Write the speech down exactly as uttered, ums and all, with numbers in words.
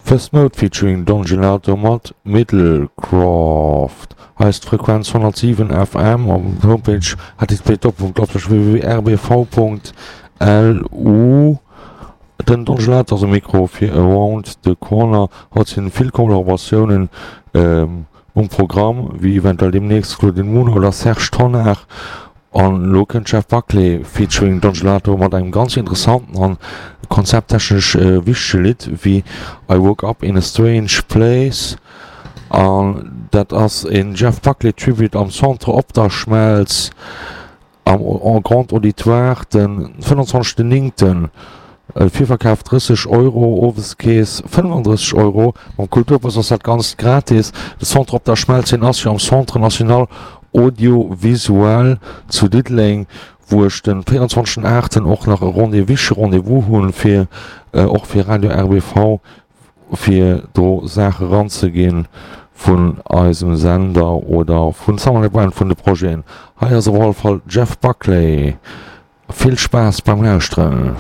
First Mode featuring Don Gelato mat Middlecroft. Hei ass d'Frequenz honnertsiwen F M op der Homepage H T T P doppelpunkt www R B V punkt L U. Den Don Gelato ass um Mikro fir Around the Corner. Haut sinn vill Kollaboratiounen um Programm, wéi eventuell deemnächst Claudine Muno oder Serge Tonnar. An elo kënnt Jeff Buckley featuring Don Gelato mat engem ganz interessanten an konzepttechnesch wichtege Lidd wéi I Woke Up In A Strange Place. An dat ass een Jeff Buckley Tribute am Centre Opderschmelz am Grand Auditoire den fënnwanzwanzegsten Néngten. Virverkaf drësseg Euro, Oweskees fënnefandrësseg Euro. Mam Kulturbus ass dat Ganzt gratis. De Centre Opderschmelz, deen ass jo am Centre National Audiovisuel zu Diddeleng, wou ech den véierundzwanzegsten Aachten och nach e Rendez, wichtege Rendez-vous hunn, fir och fir Radio R B V, fir do Saache ranzeginn vun eisem Sender oder vun Summer Brand, vun de Projeten. Hei ass op alle Fall Jeff Buckley. Vill Spaass beim Lauschteren.